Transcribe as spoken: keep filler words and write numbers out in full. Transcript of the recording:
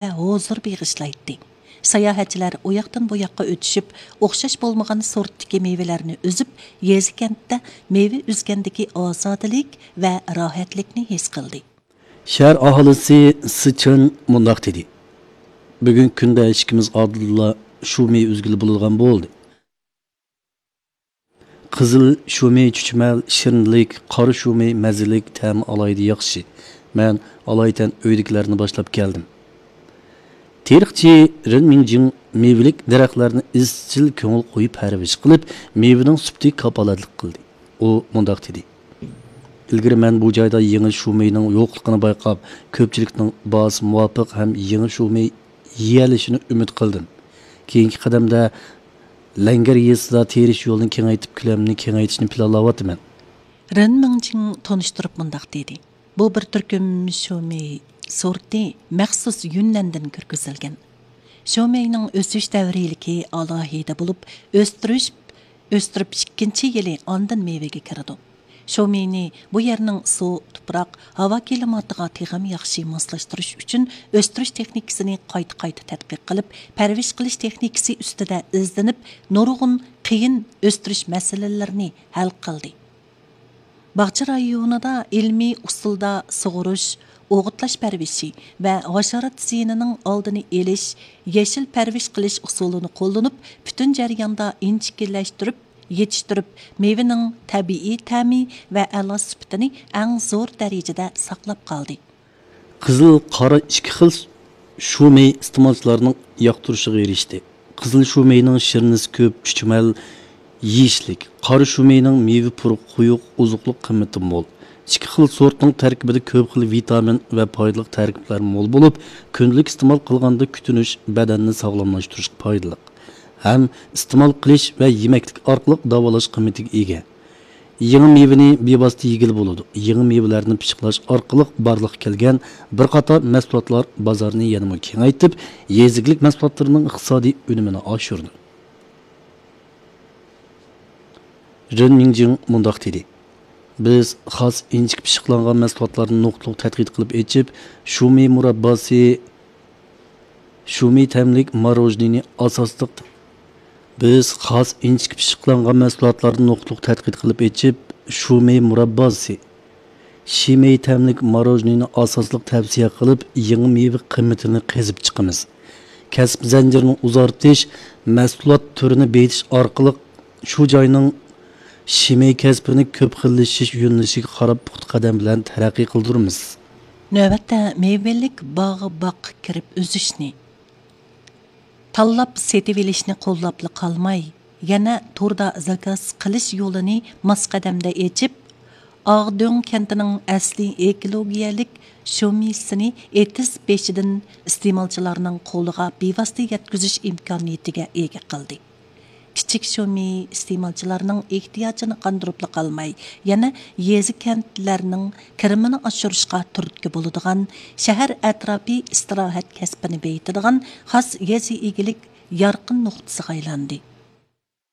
ھۇزۇر بېغىشلايتتى. ساياھەتچىلەر ئۇ ياقتىن بۇ ياققا ئۆتۈشۈپ، ئوخشاش بولمىغان سورتتىكى مېۋىلەرنى ئۈزۈپ، يېزا كەنتتە مېۋە ئۈزگەندىكى ئازادىلىك ۋە راھەتلىكنى ھېس قىلدى. شەھەر ئاھالىسى سى چېن مۇنداق دېدى: بۈگۈنكى كۈندە ئىشىكىمىز ئالدىدىلا شۇ مېۋە ئۈزگىلى بولىدىغان بولدى. قىزىل شۇمى چۈچۈمەل، شىرنىلىك، قارا شۇمى مەززىلىك، تەمى ئالاھىدە ياخشى. مەن ئالايىتەن ئۆيدىكىلەرنى باشلاپ كەلدىم. تېرىقچى رېن مىڭجىڭ مېۋىلىك دەرەخلەرنى ئىزچىل كۆڭۈل قويۇپ پەرۋىش قىلىپ، مېۋىنىڭ سۈپىتىگە كاپالەتلىك قىلدى. ئۇ مۇنداق دېدى: ئىلگىرى مەن بۇ جايدا يېڭى شۇمىنىڭ يوقلۇقىنى بايقاپ، كۆپچىلىكنىڭ باھاسى مۇۋاپىق ھەم يېڭى شۇمى يېيەلىشىنى ئۈمىد قىلدىم. كېيىنكى قەدەمدە لەڭگەر يېزىسىدا تېرىش يولىنى كېڭەيتىپ، كۆلەمنى كېڭەيتىشنى پىلانلاۋاتىمەن. رېن مىڭجىڭ تونۇشتۇرۇپ مۇنداق دېدى: بۇ بىر تۈركۈم شۇمى سورتى، مەخسۇس يۈننەندىن كىرگۈزۈلگەن. شۇمىنىڭ ئۆسۈش دەۋرىيلىكى ئالاھىدە بولۇپ، ئۆستۈرۈش، ئۆستۈرۈپ ئىككىنچى يىلى ئاندىن مېۋىگە كىرىدۇ. شۇمىنى بۇ يەرنىڭ سۇ، تۇپراق، ھاۋا كىلىماتىغا تېخىمۇ ياخشى ماسلاشتۇرۇش ئۈچۈن ئۆستۈرۈش تېخنىكىسىنى قايتا-قايتا تەتقىق قىلىپ، پەرۋىش قىلىش تېخنىكىسى ئۈستىدە ئىزدىنىپ، نۇرغۇن قىيىن ئۆستۈرۈش مەسىلىلىرىنى ھەل قىلدى. باغچە رايونىدا ئىلمىي ئۇسۇلدا سۇغۇرۇش، ئوغۇتلاش پەرۋىشى ۋە ھاشارات زىيىنىنىڭ ئالدىنى ئېلىش، يېشىل پەرۋىش قىلىش ئۇسۇلىنى قوللىنىپ، پۈتۈن جەرياندا ئىنچىكىلەشتۈرۈپ يېتىشتۈرۈپ، مېۋىنىڭ تەبىئىي تەمى ۋە ئەلا سۈپىتىنى ئەڭ زور دەرىجىدە ساقلاپ قالدى. قىزىل، قارا ئىككى خىل شۇمى ئىستېمالچىلارنىڭ ياقتۇرۇشىغا ئېرىشتى. قىزىل شۇمىنىڭ شىرنىسى كۆپ، چۈچۈمەل، يېيىشلىك. قارا شۇمىنىڭ مېۋە پۇرىقى قويۇق، ئوزۇقلۇق قىممىتى مول. ئىككى خىل سورتنىڭ تەركىبىدە كۆپ خىل ۋىتامىن ۋە پايدىلىق تەركىبلەر مول بولۇپ، كۈندىلىك ئىستېمال قىلغاندا كۈتۈنۈش، بەدەننى ساغلاملاشتۇرۇشقا پايدىلىق ھەم ئىستېمال قىلىش ۋە يېمەكلىك ئارقىلىق داۋالاش قىممىتىگە ئىگە. يېڭى مېۋىنى بىۋاسىتە يېگىلى بولىدۇ. يېڭى مېۋىلەرنى پىششىقلاش ئارقىلىق بارلىققا كەلگەن بىر قاتار مەھسۇلاتلار بازارنى يەنىمۇ كېڭەيتىپ، يېزا ئىگىلىك مەھسۇلاتلىرىنىڭ ئىقتىسادىي ئۈنۈمىنى ئاشۇرىدۇ. رېن مىڭجىڭ مۇنداق دېدى: بىز خاس ئىنچىكە پىششىقلانغان مەھسۇلاتلارنى نۇقتىلىق تەتقىق قىلىپ ئېچىپ، شۇمى مۇرابباسى، شۇمى تەملىك ماروژنىنى ئاساسلىق، بىز خاس ئىنچىكە پىششىقلانغان مەھسۇلاتلارنى نۇقتىلىق تەتقىق قىلىپ ئېچىپ، شۇمى مۇرابباسى، شىمەي تەملىك ماروژنىنى ئاساسلىق تەۋسىيە قىلىپ، يېڭى مېۋە قىممىتىنى قېزىپ چىقىمىز. كەسىپ زەنجىرىنى ئۇزارتىش، مەھسۇلات تۈرىنى بېيىتىش ئارقىلىق شۇ جاينىڭ شىمەي كەسپىنى كۆپ خىللىشىش يۆنىلىشىگە قاراپ پۇختا قەدەم بىلەن تەرەققىي قىلدۇرىمىز. نۆۋەتتە مېۋىلىك باغ باغقا كىرىپ ئۈزۈشنى، تاللاپ سېتىۋېلىشنى قوللاپلا قالماي، يەنە توردا زاكاز قىلىش يولىنى ماس قەدەمدە ئېچىپ، ئاغدۆڭ كەنتىنىڭ ئەسلىي ئېكولوگىيەلىك شۇمىسىنى ئېتىز بېشىدىن ئىستېمالچىلارنىڭ قولىغا بىۋاسىتە يەتكۈزۈش ئىمكانىيىتىگە ئىگە قىلدى. كىچىك شۇمى ئىستېمالچىلارنىڭ ئېھتىياجىنى قاندۇرۇپلا قالماي، يەنە يېزا كەنتلەرنىڭ كىرىمىنى ئاشۇرۇشقا تۈرتكە بولىدىغان شەھەر ئەتراپى ئىستىراھەت كەسپىنى بېيىتىدىغان خاس يېزا ئىگىلىك يارقىن نۇقتىسىغا ئايلاندى.